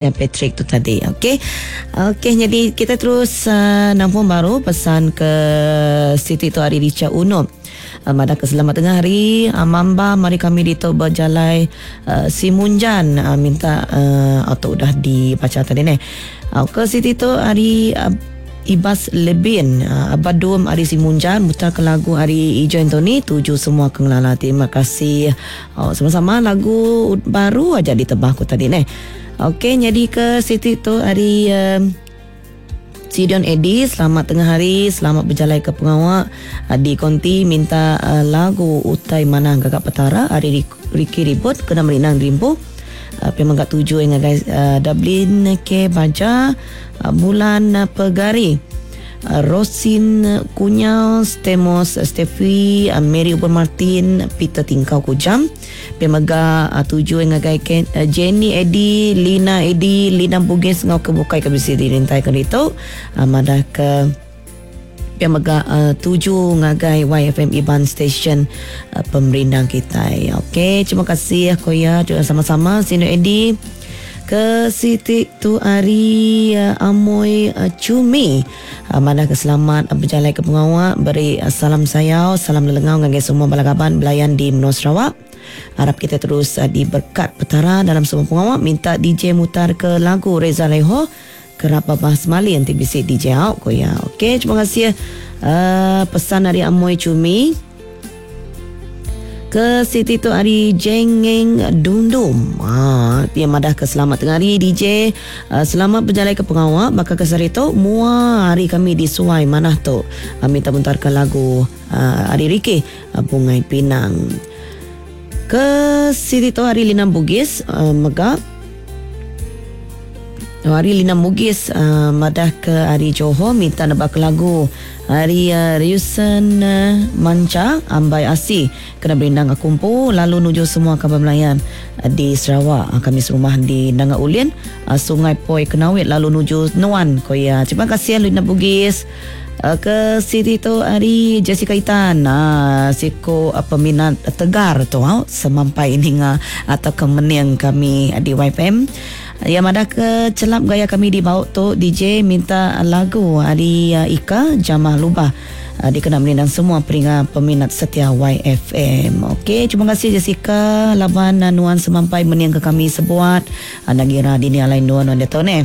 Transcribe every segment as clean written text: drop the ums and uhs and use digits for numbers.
Patrick tu tadi. Okey. Okey jadi kita terus uh, nampung baru pesan ke Siti tu hari Richa Unup. Uh, madah ke selamat tengah hari uh, Mamba mari kami di tu berjalai uh, Simunjan uh, minta uh, atau udah dibaca tadi ni. Uh, ke Siti tu hari uh, Ibas Lebin uh, Abadum Ari Simunjan mutar ke lagu Ari Ijo Anthony tuju semua ke ngelala terima kasih oh, sama-sama lagu baru aja ditebah aku tadi neh. Okey nyadi ke siti tu ari uh, Sidion Edi selamat tengah hari selamat berjalai ke pengawa uh, di konti minta uh, lagu utai manah gagak petara ari Ricky Ribut kena merinang dirimpu uh, pia mega tuju ngagai uh, Dublin K Baja uh, bulan uh, Pegari uh, Rosin Kunyau Stemos Steffi uh, Mary Ubon Martin Peter Tingkau Kujam Pia mega tuju ngagai Ken, Jenny Edi, Lina Edi, Lina Bugis enggau ke bukai ke bisi dirintaika ditu. Madah ke pia mega tuju ngagai YFM Iban Station pemerindang kitai. Okey, terima kasih ko iya sama-sama Sinu Edi. Ke siti tu ari Amoi Chumi. Madah ke selamat bejalai ke pengawa beri salam sayau, salam lelengau ngagai semua bala kaban belayan di menua Sarawak. Arap kita terus diberkat Petara dalam semua pengawa. Minta DJ mutar ke lagu Reza Leho kerap babah semali enti bisi DJ au ko iya. Okey, terima kasih pesan ari Amoi Chumi. Ke siti tu ari Jengeng Dundum. Ha, dia madah ke selamat tengah hari DJ. Uh, selamat berjalai ke pengawa baka ke sehari tu mua hari kami di Suai manah tu. Uh, minta muntarkan lagu uh, ari Riki uh, Bungai Pinang. Ke siti tu hari Lina Bugis uh, mega Hari Lina Mugis uh, madah ke hari Johor minta nebak lagu hari uh, Ryusen uh, Manca Ambai Asi kena berindang aku empu lalu nuju semua kaban belayan uh, di Sarawak uh, kami serumah di Nanga Ulin uh, Sungai Poi Kenawit lalu nuju Nuan ko iya. Terima kasih Lina Bugis. Uh, ke siti tu hari Jessica Itan uh, siko uh, peminat tegar tu uh, semampai ninga atau ke mening kami di YFM. Ya madah ke celap gaya kami di bau tu DJ minta lagu ari Ika Jamah Lubah dikena merindang semua peringa peminat setia YFM. Okey, terima kasih Jessica laban nuan semampai mening ke kami sebuat enda ngira dini alai nuan nuan diatu neh.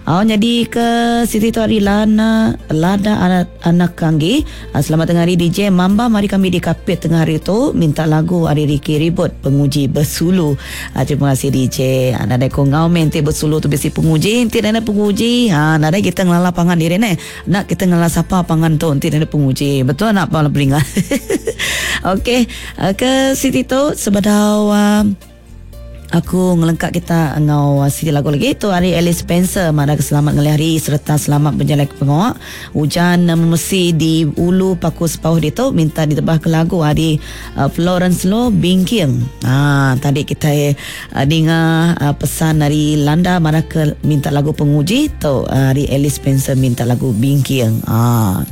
Au nyadi ke siti tu ari Lana Lada anak, anak Kanggi. Ah, selamat tengah hari DJ Mamba mari kami di Kapit tengah hari tu minta lagu ari Ricky Ribut Penguji Besulu. Ah, terima kasih DJ. Ah, nadai ko ngau meh enti besulu tu bisi penguji enti nadai penguji. Ha nadai kita ngelala pangan diri neh. Enda kita ngelala sapa pangan tu enti nadai penguji. Betul nak bala peninga. Okey, ah, ke siti tu sebedau uh, Aku ngelengka kita enggau siti lagu lagi tu ari Alice Spencer madah ke selamat ngelih hari sereta selamat bejalai ke pengawa. Ujan memesi di Ulu Paku Sepauh ditu minta ditebah ke lagu ari Florence Lo Bingking. Ha tadi kitai ninga pesan ari Landa madah ke minta lagu penguji tu ari Alice Spencer minta lagu Bingking. Ha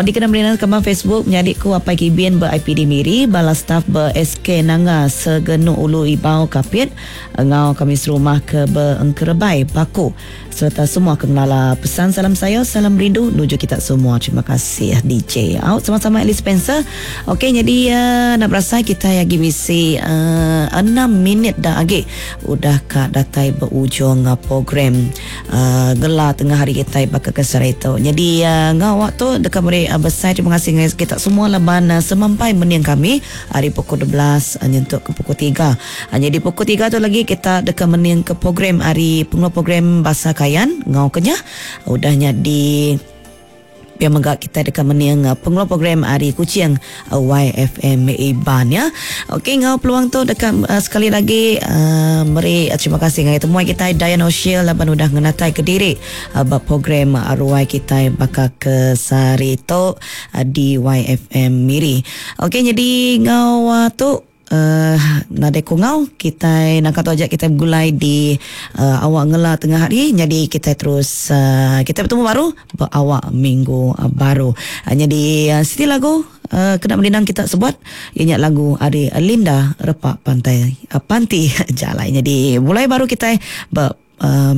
dikena meri kemang Facebook menyadi ku Apai Kibin ba IPD Miri bala staf ba SK Nanga Segenu Ulu Ibau Kapit enggau kami serumah ke Beengkerebai Paku sereta semua ke ngelala pesan salam sayau salam rindu nuju kita semua terima kasih DJ au sama-sama Alice Spencer okey nyadi uh, nak berasai kita agi bisi uh, 6 minit dah agi udah ka datai berujung uh, program uh, gela tengah hari kitai baka ke sehari tu. Nyadi uh, enggau awak tu deka meri uh, besai terima kasih ngagai kita semua laban uh, semampai mening kami ari pukul 12 uh, nyentuk ke pukul 3. Uh, nyadi pukul 3 tu lagi kita deka mening ke program ari pengeluar program Bahasa Kayan enggau Kenyah udah nya di Pia mega kitai deka mening pengeluar program ari Kuching YFM Iban ya. Okey enggau peluang tu deka sekali lagi meri terima kasih ngagai temuai kitai Dayan Oshil laban udah ngenatai ke diri ba program ruai kitai baka ke sehari tu di YFM Miri. Okey nyadi enggau tu Uhh nadai ku enggau kitai naka tu aja kitai begulai di uhh awak ngela tengah hari nyadi kitai terus uhh kitai betemu baru ba awak minggu baru. Nyadi siti lagu uhh kena merindang kita sebuat iya nya lagu ari Linda Repa Pantai Panti Jalai. Nyadi begulai baru kitai ba. Uh,